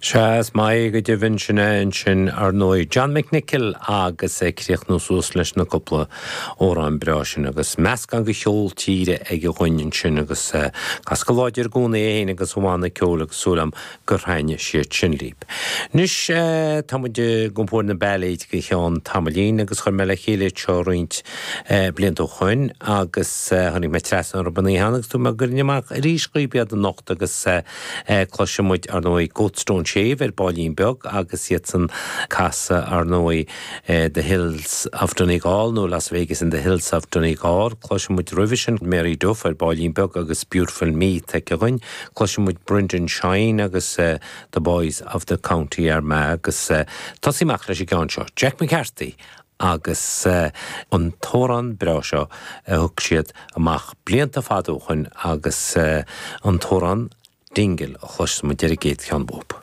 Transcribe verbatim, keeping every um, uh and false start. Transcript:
Sea, is maith go deimhin sin é ansin ar ndóigh John McNicholl agus é críochnú suas leis na cúpla amhrán breá sin agus meascán de cheol tíre aige dhúinn ansin agus cas go láidir i gcónaí é féin agus a bhanna ceoil agus súil agam gur thaitnigh siad sin libh. Anois tá muid ag iompar na bailéid go ceann tamaillín agus chuir mé le chéile seo roinnt blianta ó shoin agus tháinig mé trasna orthu an oíche agus tú mé ag gabháil amach arís dhaoibh iad anocht agus cloisfidh muid ar ndóigh Goatstone Shave ar baillín beag agus iad san casadh ar ndóigh The Hills of Donegal nó Las Vegas in the Hills of Donegal, Cloisfidh muid roimhe sin Mary Duff ar baillín beag agus Beautiful Me aici dhúinn, Cloisfidh muid Brendan Shine agus uh, The Boys of the County Armagh agus uh, tosaí amach leis an gceann seo. Jack McCarthy agus uh, an t-amhrán breá seo a thug siad amach blianta fada ó shoin agus uh, an t-amhrán Dingle a chloisfidh muid ar an gcéad cheann bób.